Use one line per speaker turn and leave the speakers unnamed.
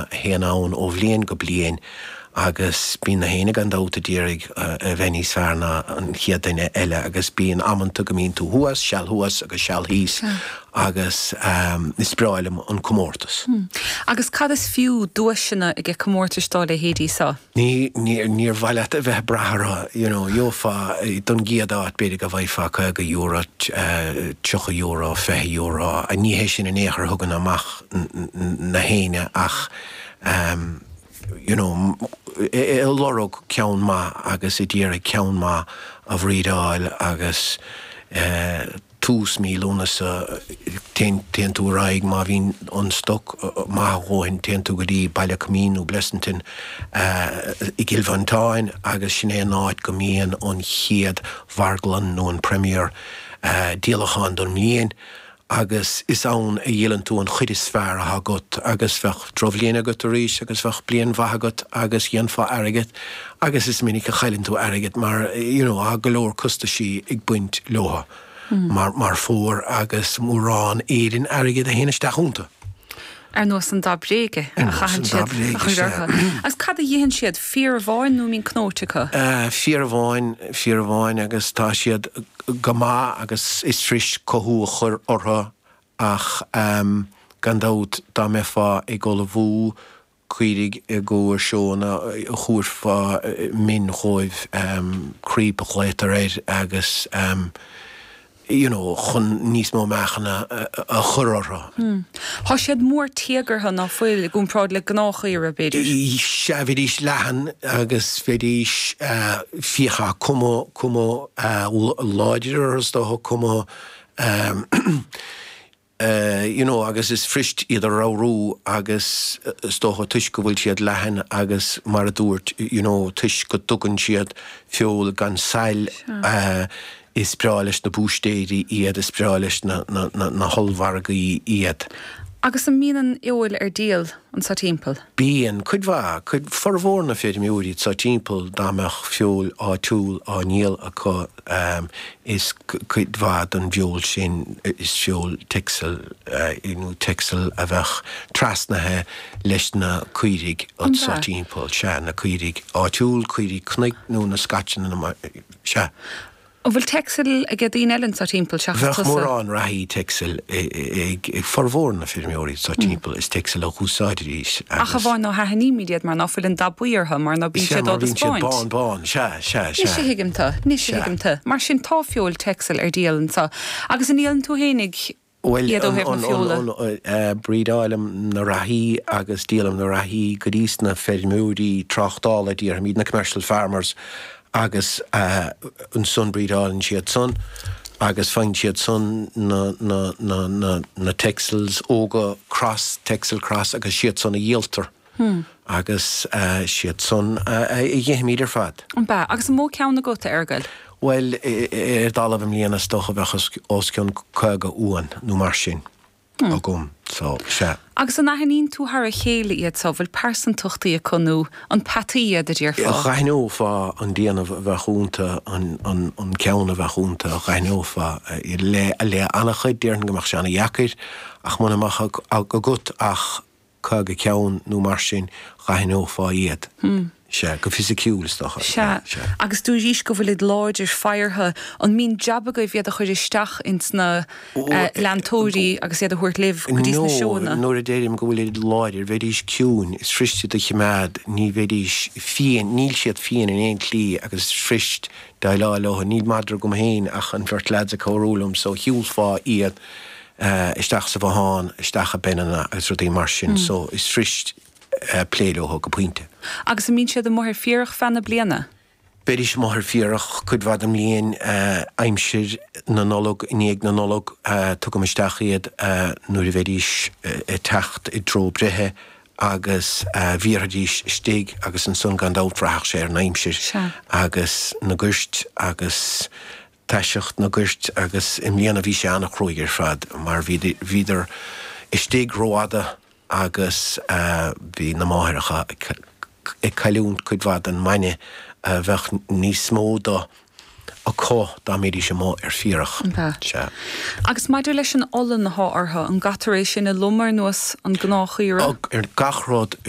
seóanna a théann ann ó bhliain go bliain agus bíonn na héinne gan dabht a d'iarraidh a bheith níos fearr ná an chéad duine eile agus bíonn amanta go mbíonn tú thuas, seal thuas agus seal thíos agus is breá liom an comórtas.
Agus cad is fiú duaiseanna age comórtais dá leithéidí so?
Ní, níor mhaith leat a bheith ag brath orthu, you know, gheofá don gcéad áit b'fhéidir go bhfaighfeá €50, €30, €20, ní hé sin in aon chor a thugann amach na héinne ach you know, ag lorg ceann maith agus ag iarraidh ceann maith a bhrídeáil agus eh, tús mí Lúnasa, téann tú ar aghaidh, má bhíonn an stoc maith a dhóthain, téann tú go dtí Baile Coimín nó Blessington i gCill Mhantáin agus sin é an áit go mbíonn an chéad mharglann nó an premier díolachán don mbliain agus is ann a dhíolann tú an chuid is fearr atá agat agus bheadh drochbhliain agat arís agus bheadh bliain mhaith agat agus dhéanfá airgead agus is minic a chailleann tú airgead mar you know tá go leor costaisí ag baint leo mar mar phór agus mórán Éirinn airgead a théann isteach iontu.
Ar nós an dath bréige a chaitheann siad a chur orthu. Agus cad a dh'itheann siad? Féar amháin nó an mbíonn cnóite acu?
Féar amháin, féar amháin agus tá siad go maith agus is fuirist cothú a chur orthu ach gan dabht dá mbeifeá ag ullmhú caoirigh i gcomhair seónna thabharfá min dhóibh, creep a ghlaotar air agus you know chun níos mó meáchana a chur orthu.
Tá siad mór téagartha ná fuil i gcomparáid le gnáthchaora b'fhéidir?
Sea, bheidís leathan agus bheidís fiacha, cuma, cuma láidir orthu is dócha, cuma you know agus is fuirist iad a ramhrú agus is dócha toisc go bhfuil siad leathan agus mar a dúirt you know toisc go dtugann siad feoil gan saill is breá leis na búistéirí iad, is breá leis na na na hollmhargaí iad.
Agus an mbíonn an fheoil ar díol anso timpeall?
Bíonn, cuid mhaith, cuid, formhór na feirmeoirí anso timpeall dá mbeadh feoil áitiúil á ndíol acu is cuid mhaith den bhfeoil sin is feoil Texel nó Texel a bheadh trasnaithe leis na caoirigh anso timpeall, sea, na caoirigh áitiúil, caoirigh cnoic nó na scaiteanna, sea.
An bhfuil Texel age daoine eile anso timpeall seachas
tusa? Bheadh mórán reathaí Texel ag formhór na feirmeoirí anso timpeall, is Texel a dh'úsáididís
agus. Ach amháin ná haithnímid iad mar ná fuil an dath buí orthu mar ná bíonn
siad á dtaispeáint. Sea, mar bíonn siad bán bán, sea, sea,
sea. Anois a thuigim tu, anois a thuigim tu. Mar sin tá feoil Texel ar díol anso. Agus an ndíolann tú fhéinig
Bhuel, iad ó thaobh na feola? Brídeáilim na reathaí agus díolaim na reathaí go dtí sna feirmeoirí tráchtála, déarfaimid, na commercial farmers, agus ansan brídeálann siad san agus faigheann siad san na, na, na, na, na Texels óga, cross, Texel cross agus siad san a dhíoltar. Agus siad san a dh'ithimid ar fad.
An b'ea? Agus an mó ceann agat, a Fheargail?
Bhuel, ar dtalamh i mbliana is dócha bheadh os cionn 50 uan nó mar sin agam, so, sea.
Agus an aithníonn tú thar a chéile iad so? Bhfuil pearsantachtaí acu nó an peataí iad a déarfá?
Dh'aithneofá an déanamh a bheadh iontu, an ceann a bheadh iontu, dh'aithneofá. Le an-chuid, déarfainn go mbeadh sé an-dheacair, ach muna mbeadh agat ach 50 ceann nó mar sin, dh'aithneofá iad. Sea, go fisiciúil, is dócha.
Sea. Agus dúraís go bhfuilid láidir faghartha. An mbíonn jab agaibh iad a chur isteach ins na leantóirí agus iad a thabhairt libh go dtí sna seóanna?
No, nuair a deirim go bhfuilid láidir, bheidís ciúin, is fuirist iad a chimeád, ní bheidís fiain, níl siad fiain in aon tslí agus is fuirist déileáil leo. Níl madra agam féin ach an bheirt leaids ag cabhrú liom so shiúlfá iad isteach sa bhothán, isteach i bpeineanna agus rudaí mar sin so is fuirist plé leo go pointe.
Agus an mbíonn siad amuigh ar féarach feadh na bliana?
Bheidís amuigh ar féarach cuid mhaith den mbliain, aimsir na Nollag, i ndiaidh na Nollag, tugaim isteach iad nuair a bheidís ag teacht i dtreo breithe agus bhéarfaidís istigh agus ansan gan dabht bhraithfeadh sé ar an aimsir agus na goirt agus taiseacht na goirt agus i mbliana bhí sé an-chruaidh ar fad mar bhíodar istigh rófhada agus bhí na máithreacha ag cailliúint cuid mhaith den mbainne a bheadh níos mó de acu dá mbeidís amuigh ar féarach.
Sea. Agus maidir leis an olann athá orthu, an gcaitear é sin a lomadh ar nós an gnáthchaora?
Ar gach rud.